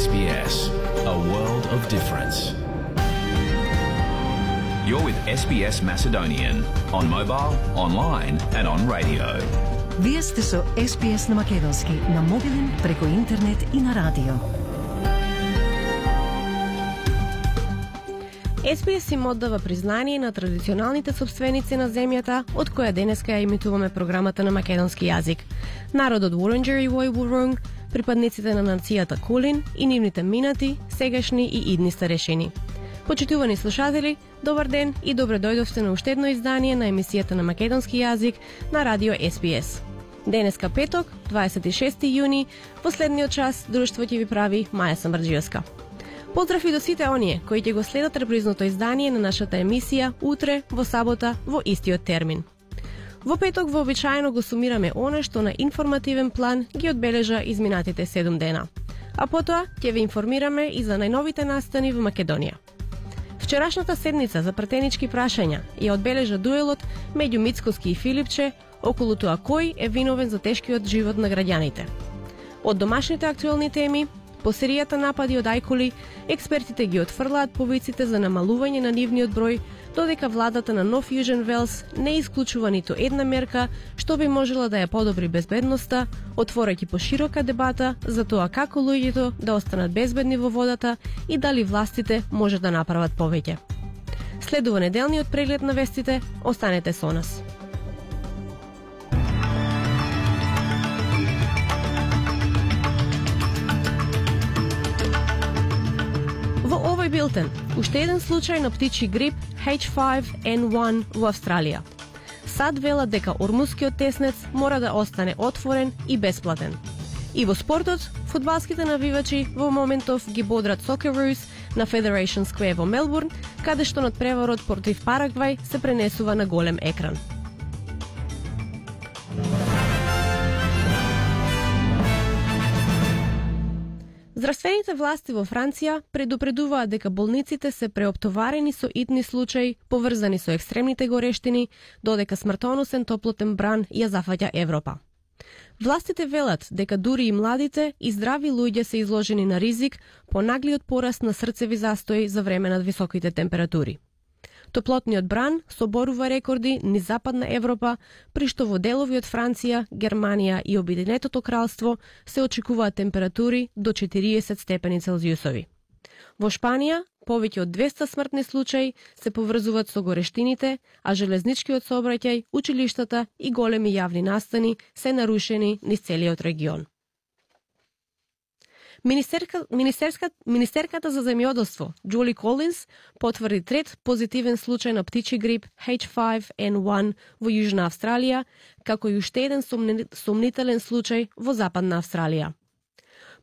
SBS, a world of difference. You're with SBS Macedonian on mobile, online and on radio. Вие сте со SBS на македонски, на мобилен, преку интернет и на радио. SBS им оддава признание на традиционалните собственици на земјата, од која денеска ја имитуваме програмата на македонски јазик. Народот Wurundjeri Woi-wurrung, припадниците на нацијата Кулин и нивните минати, сегашни и идни старешини. Почитувани слушатели, добар ден и добре дојдовте на уште едно издание на емисијата на македонски јазик на радио SBS. Денеска петок, 26 јуни, последниот час, друштво ќе ви прави Маја Самарџиевска. Поздрав и до сите оние кои ќе го следат репризното издание на нашата емисија утре, во сабота, во истиот термин. Во петок вообичаено го сумираме она што на информативен план ги одбележа изминатите 7 дена. А потоа ќе ви информираме и за најновите настани во Македонија. Вчерашната седница за пратенички прашања ја одбележа дуелот меѓу Мицкоски и Филипче околу тоа кој е виновен за тешкиот живот на граѓаните. Од домашните актуелни теми, по серијата напади од ајкули, експертите ги отфрлаат повиците за намалување на нивниот број, додека владата на Нов Јужен Велс не исклучува ниту една мерка што би можела да ја подобри безбедноста, отворајќи поширока дебата за тоа како луѓето да останат безбедни во водата и дали властите може да направат повеќе. Следува неделниот преглед на вестите, останете со нас. Во овој билтен, уште еден случај на птичи грип H5N1 во Австралија. САД велат дека ормускиот теснец мора да остане отворен и бесплатен. И во спортот, фудбалските навивачи во моментов ги бодрат Socceroos на Federation Square во Мелбурн, каде што надпреварот против Парагвај се пренесува на голем екран. Здравствените власти во Франција предупредуваат дека болниците се преоптоварени со итни случаи поврзани со екстремните горештини, додека смртоносен топлотен бран ја зафаќа Европа. Властите велат дека дури и младите и здрави луѓе се изложени на ризик по наглиот пораст на срцеви застои за време на високите температури. Топлотниот бран соборува рекорди низ Западна Европа, при што во делови од Франција, Германија и Обединетото кралство се очекуваат температури до 40 степени Целзиусови. Во Шпанија, повеќе од 200 смртни случаи се поврзуваат со горештините, а железничкиот сообраќај, училиштата и големи јавни настани се нарушени низ целиот регион. Министерката за земјоделство Джули Колинс потврди трет позитивен случај на птичи грип H5N1 во Јужна Австралија, како и уште еден сомнителен случај во Западна Австралија.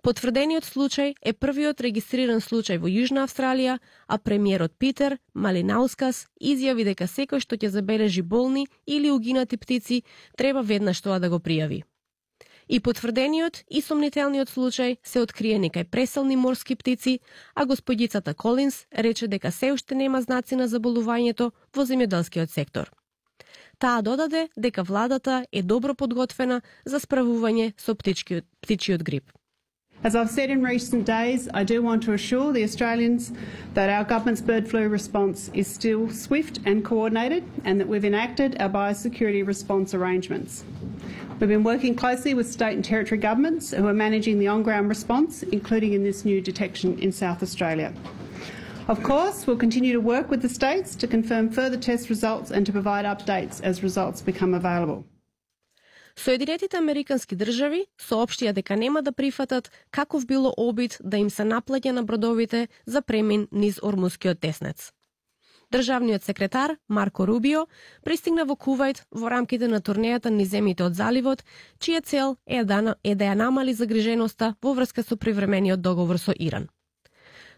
Потврдениот случај е првиот регистриран случај во Јужна Австралија, а премиерот Питер Малинаускас изјави дека секој што ќе забележи болни или угинати птици треба веднаш тоа да го пријави. И потврдениот и сомнителниот случај се откриени кај преселни морски птици, а господјицата Колинс рече дека се уште нема знаци на заболувањето во земјоделскиот сектор. Таа додаде дека владата е добро подготвена за справување со птичиот грип. As I've said in recent days, I do want to assure the Australians that our government's bird flu response is still swift and coordinated, and that we've enacted our biosecurity response arrangements. We've been working closely with state and territory governments who are managing the on-ground response, including in this new detection in South Australia. Of course, we'll continue to work with the states to confirm further test results and to provide updates as results become available. Соединетите Американски држави соопштија дека нема да прифатат каков било обид да им се наплаќа на бродовите за премин низ Ормускиот теснец. Државниот секретар Марко Рубио пристигна во Кувајт во рамките на турнејата низ земјите од заливот, чија цел е да ја намали загриженоста во врска со привремениот договор со Иран.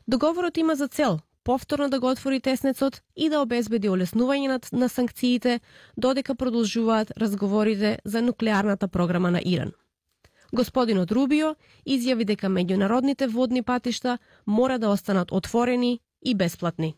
Договорот има за цел повторно да го отвори теснецот и да обезбеди олеснување на санкциите, додека продолжуваат разговорите за нуклеарната програма на Иран. Господинот Рубио изјави дека меѓународните водни патишта мора да останат отворени и бесплатни.